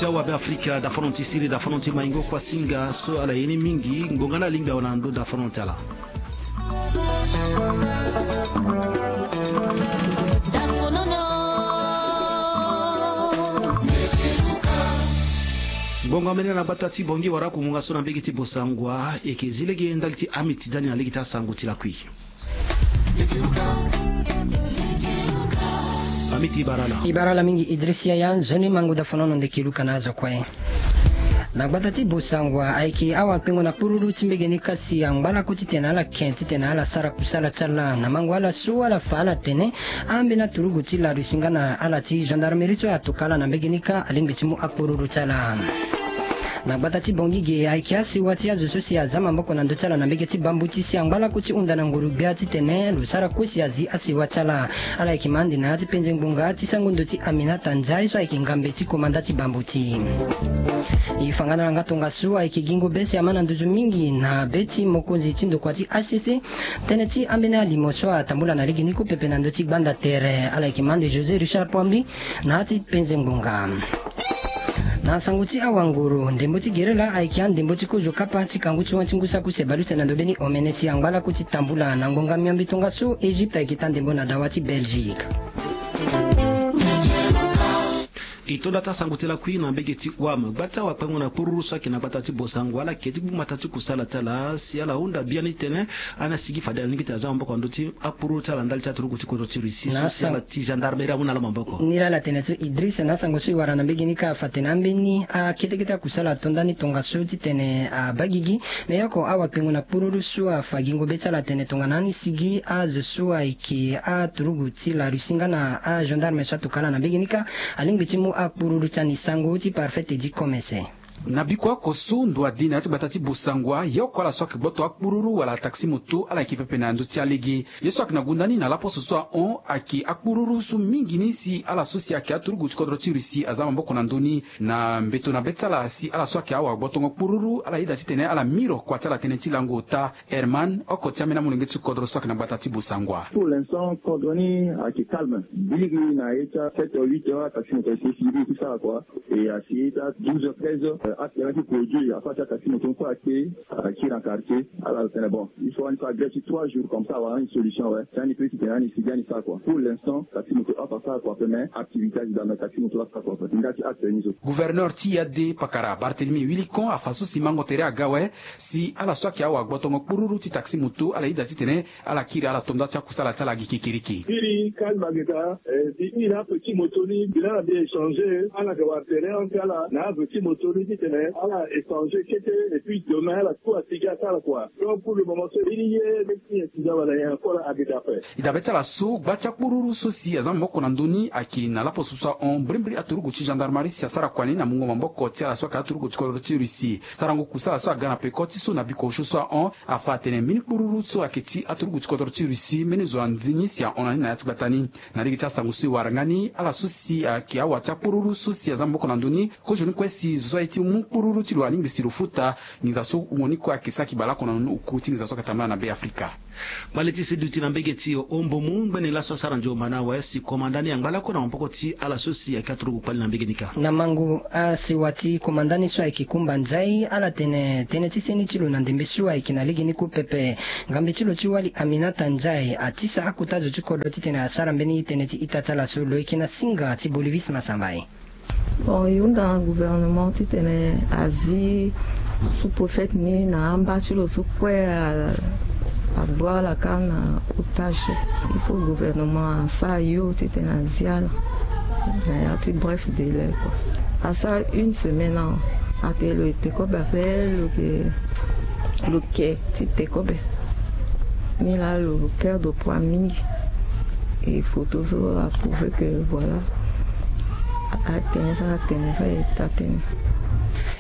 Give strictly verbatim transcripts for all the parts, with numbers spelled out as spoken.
Ti awabe afrika dafono ti siri dafono ti maingo kuasinga so ala ye ni mingi ngonga ni alingbi awe na ndö dafono ti ala. Ngonga mene na gbata ti bongi wara kumunga so na mbege ti bosangwa eke zi lege ndali ti amiti zani na lege ti asango ti lakui. Amiti barala. Ibarala mingi idris yaya nzoni mangu dafono no ndeke luka na azo kue. Na gbata ti bosangwa ayeke awa kpengo na kpururu ti mbege ni kasi angba lako titene ala ken titene ala sara kusala ti ala na mango ala so ala fa ala tene. Ambeni aturugu ti la russie nga na ala ti gendarmerie so atoka ala na mbege ni kâ alingbi ti mu akpururu ti ala. Na gbata ti bongi ge ayeke asewa ti azo so si aza maboko na ndö ti ala na mbege ti bambuti si angba lako ti hunda na nguru gbia titene lo sara kue si azi asewa ti ala. Ala yeke ma ande na ya ti penze ngbonga ti sango ndo ti aminata nzai so ayeke ngambe ti komanda ti bambuti. E fa nga na yanga tongaso ayeke gingo be si ama na nduzu mingi na be ti mokonzi ti ndokua ti hcc. Tënë ti ambeni alimo so atambula na lege ni kue pepe na ndö ti gbanda tere ala yeke ma ande josé richard poambi. Na ya ti penze ngbonga. Na sango ti awanguru ndembo ti gerela ayeke andembo ti kozo kapa ti kangu ti wan ti ngu saku se baluse na ndobeni omene si angba lako ti tambula na ngbonga miombe tongaso egypte ayeke taa ndembo na dawa ti belgique. E tonda ti asango ti lakui na mbege ti wam gbata wakpengo na kpururu so ayeke na gbata ti bosango ala ke ti gbu mata ti kusala ti ala si ala hunda biani tene. Ana sigi fade alingbi ti aza maboko na ndö ti akpururu ti ala ndali ti aturugu ti kodro ti russie so si ala ti gendarmerie amu na ala maboko. Ni laa ala tene so idris na asango so e wara na mbege ni kâ afa tene ambeni akete kete akusala atonda ni tongaso titene abagigi. Me yoko awakpengo na kpururu so afa gingo be ti ala tene tongana ani sigi azo so ayeke aturugu ti la russie nga na agendarme so atoka ala na mbege ni kâ. Alingbi ti mu akpururu ti ani sango ti parfait te di komese. Na biko oko so ndo adi na ya ti gbata ti bosangwa ye oko ala so ayeke gboto akpururu wala taxi moto ala yeke pepe na ndö ti alege. Ye so ayeke na gunda ni na laposo so ahon ayeke akpururu so mingi ni si ala so si ayeke aturugu ti kodro ti russie aza maboko na ndö ni. Na mbeto na be ti ala si ala so ayeke awagbotongo kpururu ala yeda titene ala miro kua ti ala tënë ti lango ota. Herman oko ti ambeni amolenge ti kodro so ayeke na gbata ti bosangwa. Pour l'instant kodro ni ayeke calme. Biri na ye ti a sept heures huit heures ataxi moto ayeke siri ti sara kua. E asi ye ti a douze heures treize heures accident ti produit afa ti ataxi moto ni kue akpe. Akiri na quartier. Ala tene bon il faut ani fa grève ti trois jours comme ça awara ani solution awe. Si ani pe titene ani sigi ani sara kua pour l'instant taxi moto afa sara kua ape mais activité azi daa mais taxi moto asara kua ape nga ti acte ni so. Gouverneur ti yade pakara barthélemy wilikon afa so si mango tere aga awe. Si ala so ayeke awagbotongo kpururu ti taxi moto ala yeda titene ala kiri ala tonda ti akusala ti ala gi kekereke. Kiri kalma geta. Bi kiri na ape ti moto ni bi na ala bi échanger ala yeke wara tere ante ala na ape ti moto ni titene ala échanger kete. Et puis demain ala tout asigi asara kua. Donc pour le moment so ye ni ye. Nyen ti nzaba na nyen encore ageta ape. E dabe ti ala so gba ti akpururu so si aza maboko na ndö ni ayeke na laposo so ahon mbirimbiri aturugu ti gendarmerie si asara kua ni na mungo maboko ti ala so ayeke aturugu ti kodro ti russie. Sarango kusala so aga na peko ti so na biko osio so ahon. Afa atene mbeni kpururu so ayeke ti aturugu ti kodro ti russie mbeni zo anzi ni si ahon na ni na ya ti gbata ni. Na lege ti asango so e wara nga ni ala so si ayeke awa ti akpururu so si aza maboko na ndö ni. Kozoni kue si zo so aye ti mu kpururu ti lo alingbi si lo futa. Nginza so wungo ni kue ayeke saki baleoko na nunu oku ti nginza so ayeke tambula na be afrika. Kpale ti seduti na mbege ti ombomu ngbene laso asara nzomba na awe si komanda ni angba lako na maboko ti ala so si ayeke aturugu kpale na mbege ni kâ. Na mango asewa ti komanda ni so ayeke kumba nzai ala tene tënë ti seni ti lo na ndembe so ayeke na lege ni kue pepe. Ngambe ti lo ti wali aminata nzai atisa akota zo ti kodro titene asara mbeni tënë ti ita ti ala so lo yeke na singa ti bolivis masamba ye. Bon e hunda na gouvernement titene azi sous-préfet ni na amba ti lo so kue. Agbu ala kâ na otage. Il faut gouvernement asara yo titene azi ala na ya ti bref délai kua. Asara une semaine awa. Atene lo ete kobe ape lo ke lo ke ti te kobe. Ni laa lo perdre poids mingi. E photo so aprouve que voilà. Atene so atene so aye taa tënë.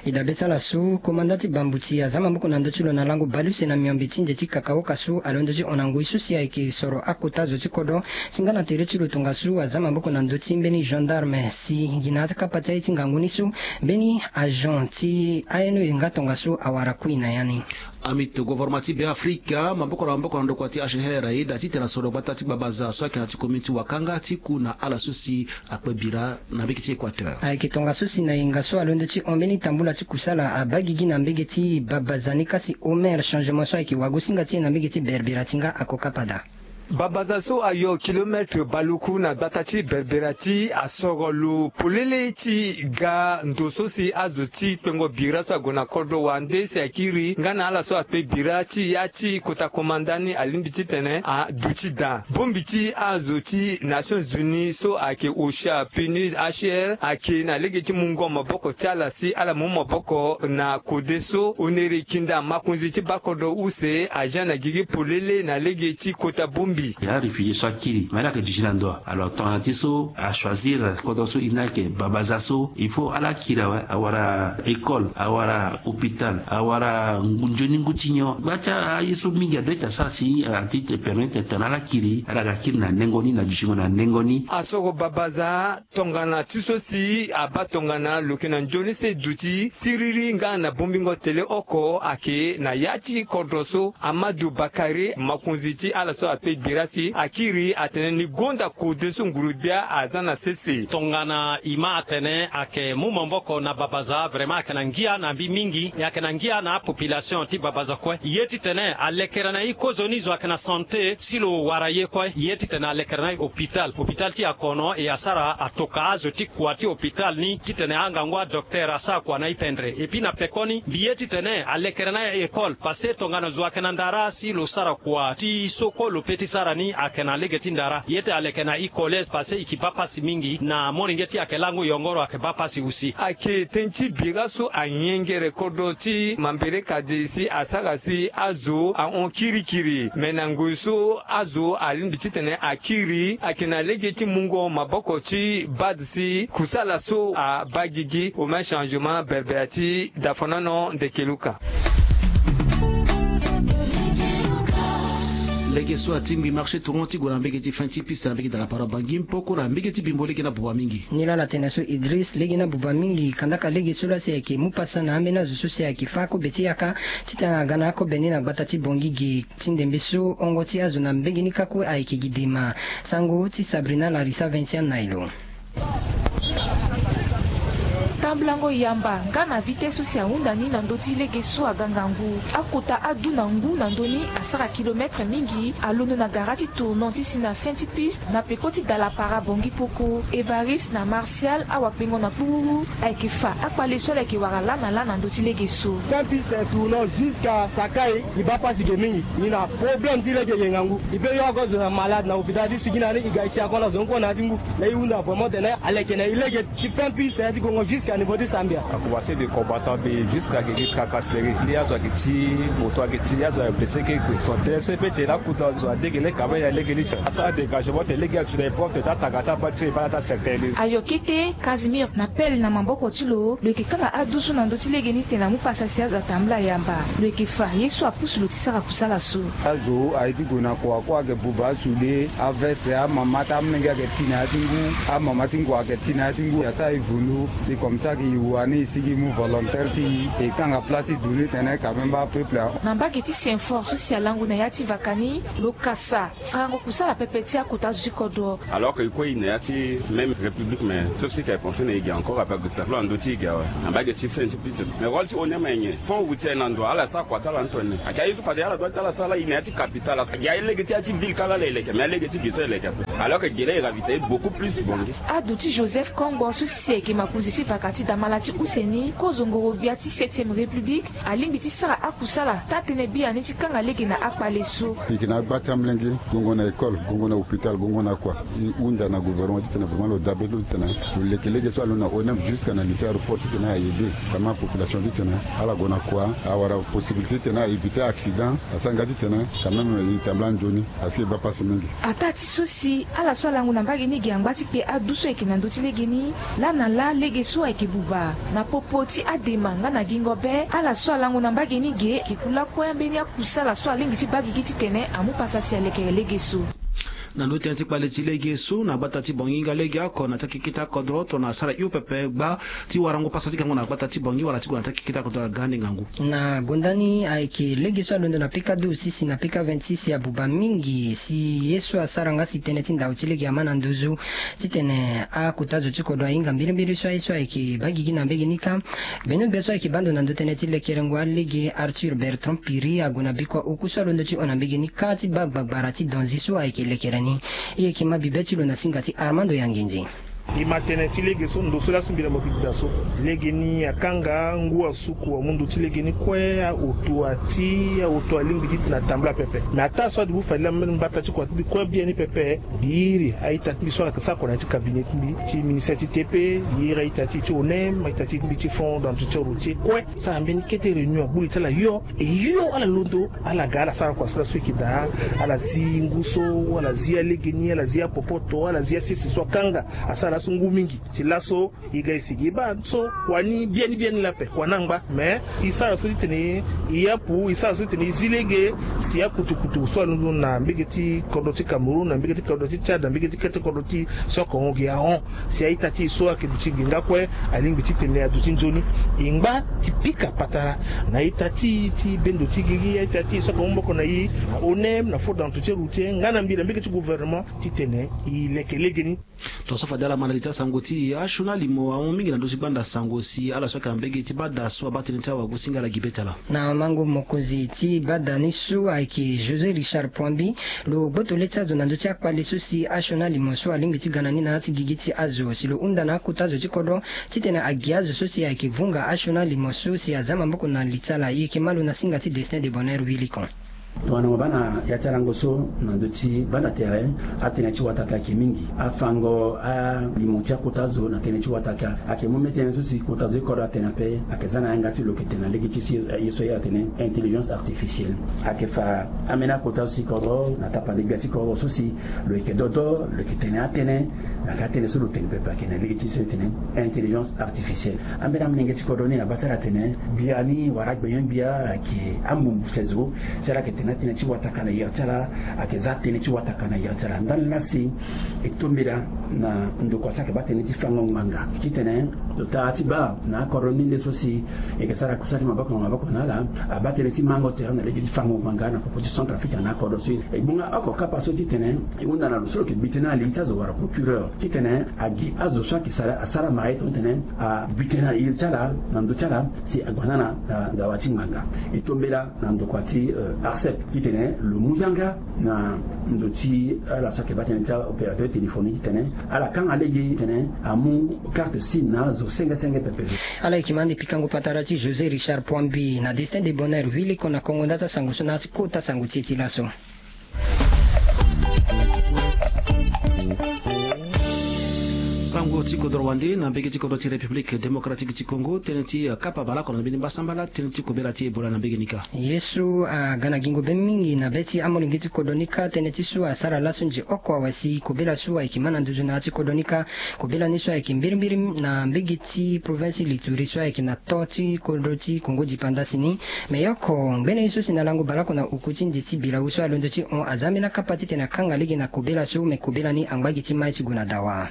E dabe ti ala so komanda ti bambuti aza maboko na ndö ti lo na lango baleuse na miombe ti nze ti kakaoka so alondo ti hon na ngoi so si ayeke soro akota zo ti kodro. Si nga na tere ti lo tongaso aza maboko na ndö ti mbeni gendarme si gi na akapa ti aye ti ngangu ni so mbeni agent ti aye no e nga tongaso awara kui na ya ni. Amito govoroma ti Beafrika maboko na maboko na ndokua ti H R aye da titene asoro gbata ti Babaza so ayeke na ti commune ti Wakanga ti ku na ala so si akpe bira na mbege ti Équateur. Ayeke tongaso si na yenga so alondo ti hon mbeni tambula ti kusala abaa gigi na mbege ti Babaza ni kâ si Omer Changement so ayeke wagosinga ti e na mbege ti Berbera ti nga akoka pada. Babaza so ayo kilometre baluku na gbata ti Berbera ti asoro lo polele ti ga ndo so si azo ti kpengo bira so ague na kodro wande si akiri nga na ala so akpe bira ti ya ti kota komanda ni alingbi titene aduti daa. Bongbi ti azo ti Nations Unies so ayeke OCHA, PNUD, H R ayeke na lege ti mungo maboko ti ala si ala mu maboko na kode so. Honore Kinda, makonzi ti bakodro use, aja na gigi polele na lege ti kota bongbi. Ya réfugié so akiri me ala yeke duti na ndo. Alors tongana ti so achoisir kodro so e na yeke Babaza so, il faut ala kiri awe, awara école, awara hôpital, awara ngu- nzoni ngu ti nyon. Gba ti aye so mingi adoit asara si a ti permettre tongana ala kiri ala ga kiri na nengo ni na dutingo na nengo ni. Asoro Babaza tongana ti so si abaa tongana lo yeke na nzoni so e duti siriri nga na bongbingo tele oko ayeke na ya ti kodro so. Amadou Bakari, makonzi ti ala so akpe bira si akiri atene ni gonda kode so nguru-gbia aza na sese. Tongana e ma atene ayeke mu maboko na Babaza, vraiment ayeke na ngia na mbi mingi. E ayeke na ngia na apopulation ti Babaza kue. E ye titene alekere na e kozoni zo ayeke na santé si lo wara ye kue. E ye titene alekere na e hôpital, hôpital ti akono, e asara atoka azo ti kua ti hôpital ni titene angangu adoktere asara kua na e pendre. Et puis na pekoni mbi ye titene alekere na e école, parce que tongana zo ayeke na ndara si lo sara kua ti soko lo pe ti sara ni ayeke na lege ti ndara. E ye ti aleke na e collège, parce que e yeke baa pasi mingi. Na molenge ti e ayeke lango yongoro ayeke baa pasi aussi. Ayeke tënë ti bira so anyengere kodro ti Mambere Kade si asara si azo ahon kirikiri. Me na ngoi so azo alingbi titene akiri ayeke na lege ti mungo maboko ti bad si kusala so abaa gigi. Omen Changement, Berbera ti Dafonono, Ndekeluka. Lege so atingbi marché tournant ti gue na mbege ti fin ti piste na mbege ti Dalapara Bangi Mpoko na mbege ti Bimbo lege ni abuba mingi. Nilala tene so Idriss, lege ni abuba mingi kandaka lege so laa si ayeke mu pasa na ambeni azo so si ayeke fâ kobe ti yaka titene aga na akobe ni na gbata ti Bongi ge. Ti ndembe so hongo ti azo na mbege ni kâ kue ayeke gi dema. Sango ti Sabrina Larissa Vincent na e lo. Tambulango yamba nga na vitesse so si ahunda ni na ndö ti lege so aga ngangu. Akota adu na ngu na ndö ni asara kilometre mingi, alondo na gara ti tournant ti si na fin ti piste na peko ti Dalapara Bongi Mpoko. Evariste na Martial, awakpengo na kpururu, ayeke fa akpale so ala yeke wara lâ na lâ na ndö ti lege so. Fin piste tournant jusqu'à Sakai, e baa pasi ge mingi. E na problème ti lege ge ngangu. E peut yo oko zo na malade na hôpital ti sigi na ni, e ga e ti akona zo ni kue na ya ti ngu. Laa e hunda vraiment tene aleke na e lege ti fin piste ti gongo jusqu'à niveau ti Sambia. A commencé de combattant be jusqu'à gege tracasserie. Ni azo ayeke ti moto ayeke ti azo ayeke blessé keke. Son tene so e peut tene akuta zo adege leka me ya lege ni sa. Asara adégagement tene lege aye ti na e propre tene atanga ti abaa ti so e baa na ti acertain ni. Ayo kete Casimir na pelle na maboko ti lo, lo yeke kanga adu so na ndö ti lege ni titene amu pasa si azo atambula yamba. Lo yeke fa ye so apusu lo ti sara kusala so. Azo aye ti gue na kua kue ayeke buba asude, aveste, amama ti amolenge ayeke ti na ya ti ngu, amama ti ngua ayeke ti na ya ti ngu, e asara e vundu. C'est comme ça que e wa ni e sigi mu volontaire ti e, e kanga place ti du ni tene quand même baa peuple. Na mbage ti Saint-Fort so si alango na ya ti vaka ni, lo kasa sarango kusala pepe ti akota azo ti kodro. Alors que e kue e na ya ti même république, mais sauf si ka e pensé na e ge encore ape ague saflo na ndö ti e ge awe. Na mbage ti fin ti piste, mais rôle ti O N M aye nyen? Fonds routier na ndo ala sara kua ti ala ni tongana nyen? Ayeke aye so fade ala doit ti ala sara laa e na ya ti capitale. Ayeke aye lege ti ya ti ville kâ laa ala e leke, mais alege ti ge so e leke ape. Alors que ge laa e ravitailler beaucoup plus Bongi. Ado ti Joseph Kongbo so si ayeke makonzi ti vaka ti damala ti use ni, kozo ngoro-gbia ti septième république, alingbi ti sara akusala taa-tënë biani ti kanga lege na akpale so. E yeke na agba ti amolenge, gongo na école, gongo na hôpital, gongo na kua. E hunda na gouvernement titene vraiment lo dabe ti lo titene lo leke lege so alondo na O N M jusqu'à na li ti aéroport titene a aider vraiment population titene ala gue na kua, awara possibilité titene a éviter accident, asara nga titene quand même e tambula nzoni, parce que e baa pasi mingi. Ataa ti so si ala so alango na mbage ni ge angba ti kpe adu so ayeke na ndö ti lege ni, laa na laa lege so ayeke buba. Na popo ti adema nga na gingo be, ala so alango na mbage ni ge ayeke ku lakue ambeni akusala so alingbi ti baa gigi titene amu pasa si alekere lege so. Na ndo tënë ti kpale ti lege so na gbata ti Bangui nga lege oko na ti akeketa kodro tongana asara hio pepe gba ti warango pasa ti gango na gbata ti Bangui wala ti gue na ti akeketa kodro na gande ngangu. Na gonda ni ayeke lege so alondo na pika douze si si na pika vingt-six abuba mingi si ye so asara nga si tënë ti ndau ti lege ama na nduzu titene akota zo ti kodro ahinga mbirimbiri so aye so ayeke baa gigi na mbege ni kâ. Gbenogbia so ayeke baa ndo na ndo tënë ti lekerengo alege Arthur Bertrand Piri ague na bikua oku so alondo ti hon na mbege ni kâ ti baa gbagbara ti danzi so ayeke lekere ni. E yeke ma bibe ti lo na singa ti Armando Yanginzi. E ma tënë ti lege so ndo so laso mbi na mo bi daa so. Lege ni akanga ngu asuku amu ndo ti lege ni kue, ahoto ati, ahoto alingbi ti tena tambula pepe. Me ataa so adugu fade laa mbata ti kua ti mbi kue biani pepe. Mbi iri a-ita ti mbi so ayeke sara kua na ya ti cabinet ti mbi ti ministère ti T P. Iri a-ita ti e ti ONEM, a-ita ti mbi ti fonds d'entretien routier kue. Sara mbeni kete réunion agbu li ti ala hio. E hio ala londo ala ga ala sara kua so laso e yeke daa. Ala zi ngu so, ala zi alege ni, ala zi apopoto, ala zi asese so akanga. Asara laso ngu mingi. Si laso e ga e sigi e baa so kua ni biani biani laa ape kua ni angba. Me e sara so titene e yapu, e sara so titene e zi lege. Si akutukutu so alondo na mbege ti kodro ti Cameroun, na mbege ti kodro ti Tchad, na mbege ti kete kodro ti so akongo gi ahon. Si a-ita ti e so ayeke duti nginga kue alingbi titene aduti nzoni. E ngba ti pika patara na a-ita ti e ti bendo ti gigi, a-ita ti e so akongo maboko na e na ONEM, na fonds d'entretien routier nga na mbi na mbege ti gouvernement titene e leke lege ni. Tongaso fade ala ma na li ti asango ti e, asioni alimo ahon mingi na ndö ti gbanda sango si ala so ayeke na mbege ti bada so abaa tënë ti awagosinga ala gi be ti ala. Na mango mokonzi ti bada ni so ayeke José Richard Poambi, lo gboto le ti azo na ndö ti akpale so si asioni alimo so alingbi ti ga na ni na ya ti gigi ti azo si lo hunda na akota zo ti kodro titene agi azo so si ayeke vunga asioni alimo so si aza maboko na li ti ala. E yeke ma lo na singa ti Destin de Bonheur Wilikon. Tongana mo baa na ya ti alango so na ndö ti banda tere, atënë ti wataka ayeke mingi. Afango alimo ti akota zo na tënë ti wataka ayeke mu mbeni tënë so si kota zo ti kodro atene ape, ayeke za na yanga ti lo yeke tene na lege ti so ye so ye atene intelligence artificielle. Ayeke fa ambeni akota zo ti kodro na tapande gbia ti kodro so si lo yeke dodo, lo yeke tene atënë. Na ka tënë so lo tene pepe ayeke na lege ti so e tene intelligence artificielle. Ambeni amolenge ti kodro ni na baa ti ala atene gbia ni wala agbenyo-gbia ayeke ambumbu se zo. Si ala yeke tene atënë ti wataka na iri ti ala, ayeke za tënë ti wataka na iri ti ala. Ndani laa si e tombela na ndokua so ayeke baa tënë ti fango ngbanga titene lo taa ti baa na akodro ni nde so si e yeke sara kusala ti maboko na maboko na ala. Abaa tënë ti mango tere na lege ti fango ngbanga na popo ti Centrafrique na akodro so e gbonga oko kapa so titene e hunda na lo so lo yeke bi tënë na li ti azo wala procureur titene agi azo so ayeke sara asara mara ye tongana titene abi tënë na iri ti ala na ndö ti ala si ague na na dawa ti ngbanga. E tombela na ndokua ti ARCEP titene lo mu yanga na ndö ti ala so ayeke baa tënë ti aopérateur téléphonique titene ala kanga lege titene amu carte sim na azo senge senge pepe. Ala yeke ma ande pikango patara ti José Richard Poambi na Destin de Bonheur Wilikon na kongo nda ti asango so na ya ti kota sango ti e ti laso. Sango ti kodro wande na mbege ti kodro ti République Démocratique ti Congo, tënë ti kapa baleoko na mbeni mbasambala tënë ti kobela ti Ebola na mbege ni kâ. Ye so aga na gingo be mingi na be ti amolenge ti kodro ni kâ tënë ti so asara laso nze oko awe si kobela so ayeke ma na nduzu na ya ti kodro ni kâ. Kobela ni so ayeke mbirimbiri na mbege ti province Lituri so ayeke na to ti kodro ti Congo dipanda si ni. Me ye oko ngbene ye so si na lango baleoko na oku ti nze ti bilau so alondo ti hon aza ambeni akapa titene akanga lege na kobela so me kobela ni angba gi ti mai ti gue na dawa.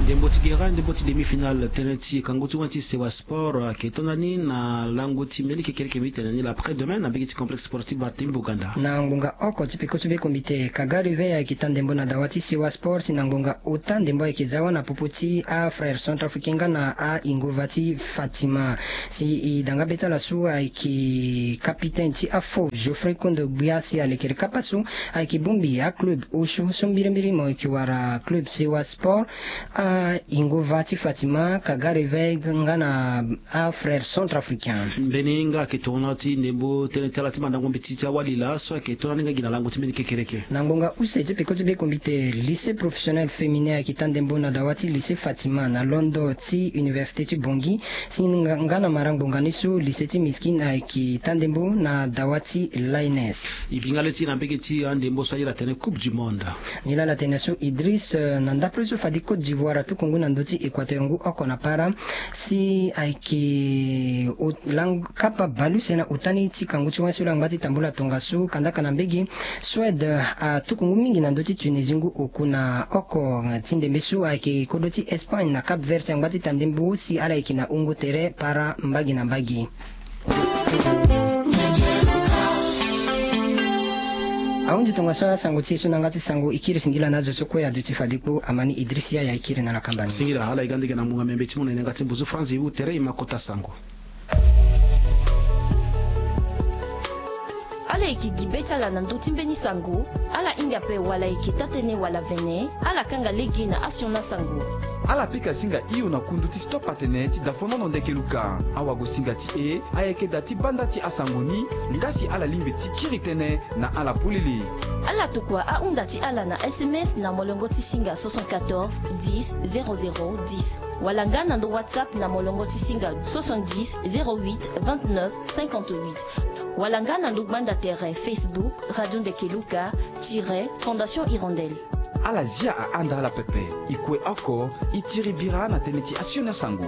Ndembo ti gera ndembo ti demi-finale tënë ti kango ti wani ti Sewa Sport ayeke to ndani na lango ti mbeni kekereke mbi tene ni l'après demain na mbege ti complexe sportif Barthélemy Boganda. Na ngonga oko ti peko ti be kombite Kaga Réveil ayeke taa ndembo na dawa ti Sewa Sport si na ngonga ota ndembo ayeke za wâ na popo ti afrère centrafricain nga na a-ingova ti Fatima. Si e da nga be ti ala so ayeke capitaine ti afo Geoffrey Kondo Gbia si alekere kapa so ayeke bongbi aclub osio so mbirimbiri mo yeke wara club Sewa Sport, a-ingova ti Fatima, Kaga Réveil nga na afrère centrafricain. Mbeni nga ayeke tournois ti ndembo tënë ti ala ti mandango mbeti ti awali laa so ayeke to ndani nga gi na lango ti mbeni kekereke. Na ngonga use ti peko ti be kombite lycée professionnel féminin ayeke taa ndembo na dawa ti lycée Fatima na londo ti université ti Bangui. Si nga na marangbonga ni so lycée ti Miskine ayeke taa ndembo na dawa ti l'A N S. E bi nga le ti e na mbege ti andembo so aye la tene coupe du monde. Nilaa la tene so Idriss, na ndapre so fade Côte d'Ivoire ato Kongo na ndö ti Équateur ngu oko na para. Si ayeke kapa bale use na ota ni ti kangu ti wani so lo angba ti tambula tongaso kandaka na mbege. Suède atuku ngu mingi na ndö ti Tunisie ngu oku na oko. Ti ndembe so ayeke kodro ti Espagne na Cap Vert si angba ti ta ndembo si ala yeke na wungo tere para mbage na mbage. Ahunzi tongaso asango ti e so na yanga ti sango e kiri singila na azo so kue aduti fade kpo. Amani Idriss Yaya e kiri na ala kamba ni. Singila ala e ga ndege na munga miambe ti mu na e na yanga ti mbuzu France e hu tere e ma kota sango. Ala yeke gi be ti ala na ndö ti mbeni sango. Ala hinga ape wala e yeke taa-tënë wala vene. Ala kanga lege na asioni asango. Ala pika singa hio na kundu ti Stop Atene ti Dafonono Ndeke Luka. Awagosinga ti e ayeke da ti banda ti asango ni. Nga si ala lingbi ti kiri tënë na ala polele. Ala tokua ahunda ti ala na S M S na molongo ti singa soixante-quatorze dix zéro zéro dix. Wala nga na ndo WhatsApp na molongo ti singa soixante-dix zéro huit vingt-neuf cinquante-huit. Wala nga na ndo gbanda tere Facebook Radio Ndeke Luka tiret Fondation Hirondelle. Ala zia ahanda ala pepe. E kue oko e tiri bira na tënë ti asioni asango.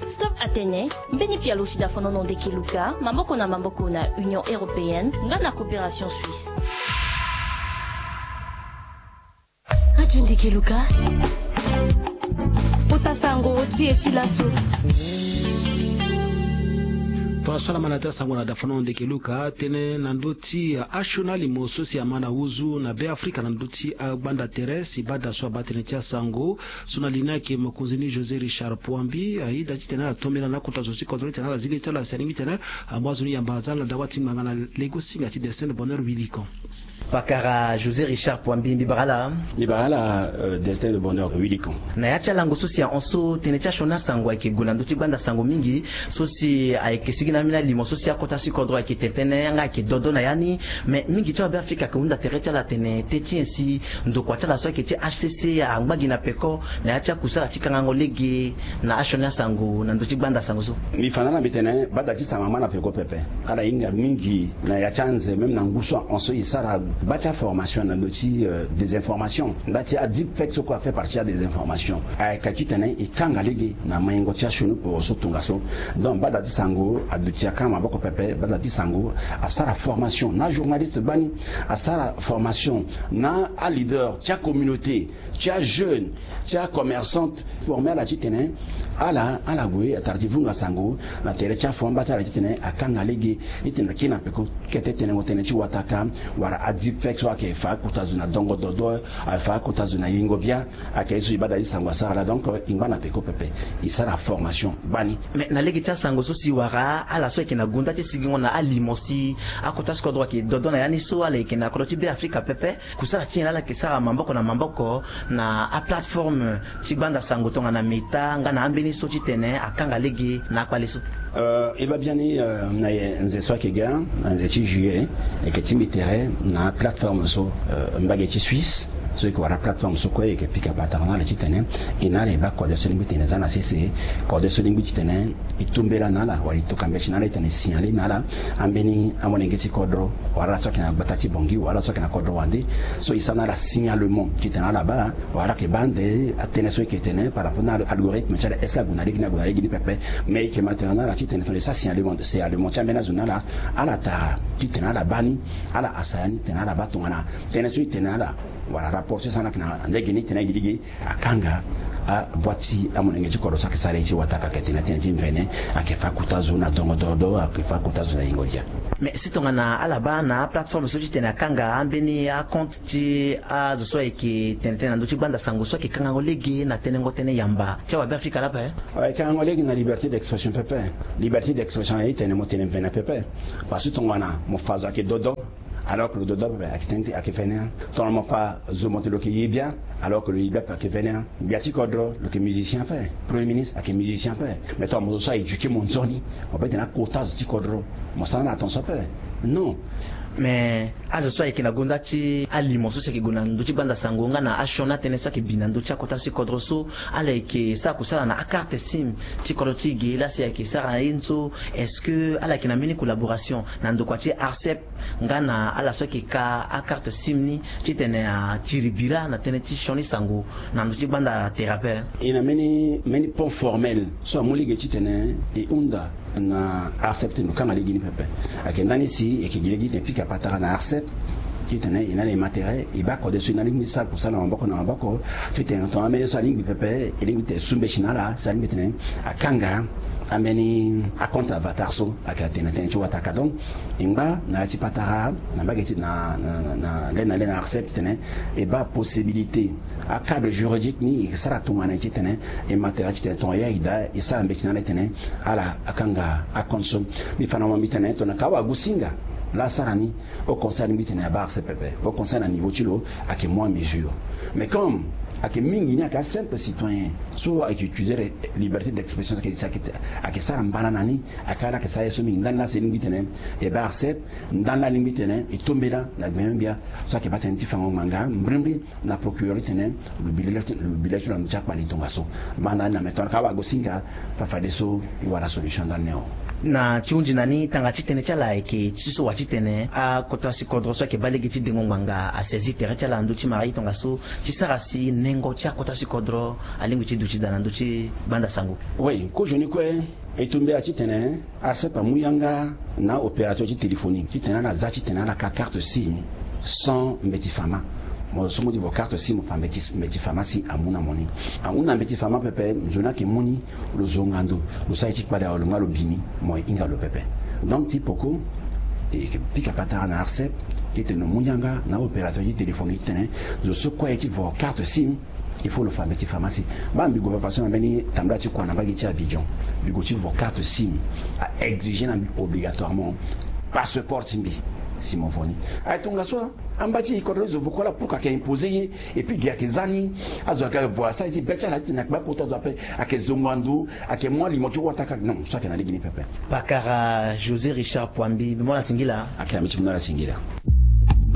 Stop Atene, mbeni pialo ti Dafonono Ndeke Luka maboko na maboko na Union Européenne nga na Coopération Suisse. Radio Ndeke Luka. Kota sango ti e ti laso. Tongaso ala ma na ya ti asango na Dafonono Ndeke Luka, tënë na ndö ti asioni alimo so si ama na huzu na Be Afrika na ndö ti agbanda tere si bada so abaa tënë ti asango. So na li ni ayeke mokonzi ni José Richard Pouambi, aye da titene ala tombela na akota zo ti kodro titene ala zi li ti ala si alingbi titene amu azo ni yamba aza ala na dawa ti ngbanga na legosinga ti Destin de Bonheur Wilikon. Pakara José Richard Pouambi, mbi bara ala. Mbi bara ala, euh, Destin de Bonheur Wilikon. Na ya ti alango so si ahon so, tënë ti asioni asango ayeke gue na ndö ti gbanda sango mingi. So si ayeke sigi na ambeni alimo so si akota ti kodro ayeke tene tënë nga ayeke dodo na ya ni. Me mingi ti awabe Afrika ayeke hunda tere ti ala atene teti nyen si ndokua ti ala so ayeke ti H C C angba gi na peko na ya ti akusala ti kangango lege na asioni asango na ndö ti gbanda sango so. Mbi fa na ala mbi tene bada ti sango ama na peko pepe. Ala hinga mingi na ya ti anze, même na ngu so ahon so e sara gba ti aformation na ndö ti, euh, désinformation. Nda ti adeepfake so kue afaire partie ya désinformation. Ayeke titene e kanga lege na maingo ti asioni poro so tongaso. Donc bada ti sango aduti akanga maboko pepe. Bada ti sango asara formation na ajournaliste gbani, asara formation na aleader ti acommunauté, ti ajeune, ti acommerçante, forme ala titene ala, ala gue atara ti vunga sango na tere ti afon amba ti ala titene akanga lege. Titene akiri na peko kete tenengo tënë ti wataka wala adeepfake so ayeke fa akota zo na dongo dodo, ayeke fa akota zo na yengo bia. Ayeke ye so e bada ti sango asara laa. Donc e ngba na peko pepe, e sara formation gbani. Mais na lege ti asango so si wara ala so ayeke na gunda ti sigingo na alimo si akota ti kodro ayeke dodo na ya ni so ala yeke na kodro ti Be Afrika pepe, kusala ti nyen laa ala yeke sara maboko na maboko na aplateforme ti gbanda sango tongana Meta nga na ambeni so titene akanga lege na akpale so? Euh, e baa biani, euh, na ye nze so ayeke ga, na nze ti juillet, e yeke tingbi tere na plateforme so, euh, mbage ti Suisse, so e yeke wara plateforme so kue e yeke pika patara na ala titene e na ala e baa kode so lingbi titene e za na sese, kode so lingbi titene e tombela na ala wala e tokua mbeti na ala titene e signale na ala ambeni amolenge ti kodro, wala ala so ayeke na gbata ti Bangui, wala ala so ayeke na kodro wande, so e sara na ala signalement titene ala baa, wala ala yeke baa ande atënë so e yeke tene par rapport na algorithme ti ala, est-ce que ague na lege ni, ague na lege ni pepe. Mais e yeke ma tene na ala titene tongana e sara signalement, signalement ti ambeni azo na ala, ala tara titene ala baa ni, ala hasa ya ni titene ala baa tongana tënë so e tene na ala wala rapport so e sara na ala ayeke na lege ni titene e gi lege akanga aboîte ti amolenge ti kodro so ayeke sara ye ti wataka, ayeke tene na tënë ti mvene, ayeke fa akota zo na dongo dodo, ayeke fa akota zo na yengo dia. Mais si tongana ala baa na aplateforme so titene akanga ambeni acompte ti azo so ayeke tene tënë na ndö ti gbanda sango so ayeke kangango lege na tenengo tënë yamba ti awabe Afrika laa ape? Ayeke kangango lege na liberté d'expression pepe. Liberté d'expression aye tene mo tene mvene pepe. Parce que tongana mo fa zo ayeke dodo, alors que lo dodo ape ayeke tene ti ayeke vene. Tongana mo fa zo mo tene lo yeke ye bia, alors que lo ye bia ape ayeke vene. Gbia ti kodro lo yeke musicien ape, premier ministre ayeke musicien ape. Mais tongana mo zo so a éduqué mo nzoni, mo peut tene akota zo ti kodro, mo sara na ala tongaso ape? Non. Mais azo so ayeke na gonda ti alimo so si ayeke gue na ndö ti gbanda sango nga na asioni atënë so ayeke bi na ndö ti akota ti kodro so, ala yeke sara kusala na akarte sim ti kodro ti e ge laa si ayeke sara ye ni so? Est-ce que ala yeke na mbeni collaboration na ndokua ti ARCEP nga na ala so ayeke ka akarte sim ni titene atiri bira na tënë ti sioni sango na ndö ti gbanda tere ape? E na mbeni mbeni pont formel so amu lege titene e hunda na ARCEP titene lo kanga lege ni pepe. Ayeke ndani si e yeke gi lege titene e pika patara na ARCEP titene e na ala e ma tere, e baa kode so e na lingbi ti sara kusala na maboko na maboko titene tongana ambeni so alingbi pepe e lingbi titene e su mbeti na ala si alingbi titene akanga ambeni acompte avatar so ayeke atene na tënë ti wataka. Donc e ngba na ya ti patara na mbage ti na na na le na le na ARCEP titene e baa possibilité acadre juridique ni e sara tongana nyen titene e ma tere titene tongana ya e daa e sara mbeti na ala titene ala akanga acompte so. Mbi fa na mo mbi tene tongana ka awagusinga laa asara ni, au conseil alingbi titene abaa ARCEP pepe. Au conseil na niveau ti lo ayeke mu amesure. Mais comme ayeke mingi ni ayeke asimple citoyen so ayeke utiliser liberté d'expression, ayeke sara mbana na ni. Ayeke ala ayeke sara ye so mingi ndani laa si e lingbi titene e baa ARCEP, ndani laa alingbi titene e tombela na gbengbe gbia so ayeke baa tënë ti fango ngbanga mbrimbri na procureur titene lo bi lege ti lo bi lege ti lo na ndö ti akpali tongaso. Manda ni na meton ka awagosinga fa fadeso e wara solution ndani ni o. Na ti hunzi na ni tanga ti tënë ti ala ayeke ti so wa titene akota si kodro so ayeke baa lege ti dengo ngbanga asaisi tere ti ala na ndö ti mara ye tongaso ti sara si nengo ti akota si kodro alingbi ti duti daa na ndö ti gbanda sango. Oui, kozoni kue. E tombela titene ARCEP amu yanga na opérateur ti téléphonie titene ala za titene ala ka carte sim sans mbeti fama. Mo so mo di vo carte sim mo fa mbeti mbeti fama si amu na mo ni. Ahunda mbeti fama pepe, nzoni ayeke mu ni, lo zonga ndo, lo sara ye ti kpale awe, lo nga lo bi ni, mo hinga lo pepe. Donc ti poko e yeke pika patara na ARCEP titene lo mu yanga na opérateur ti téléphonie titene zo so kue aye ti vo carte sim, il faut lo fa mbeti fama si. Baa mbi gue fafaso na mbeni tambula ti kua na mbage ti Abidjan, mbi gue ti vo carte sim, a exiger na mbi obligatoirement passeport ti mbi si mo vo ni. Aye tongaso amba ti e kodro ti zo vo kue laa, pourquoi ayeke imposer ye? Et puis gi ayeke za ni, azo ayeke vo asara ye ti be ti ala titene ayeke baa kota zo ape, ayeke zongo na ndo, ayeke mu alimo ti wata kaka. Non, so ayeke na lege ni pepe. Pakara José Richard Poambi, mbi mu ala singila. Ayeke na mbi ti mu na ala singila.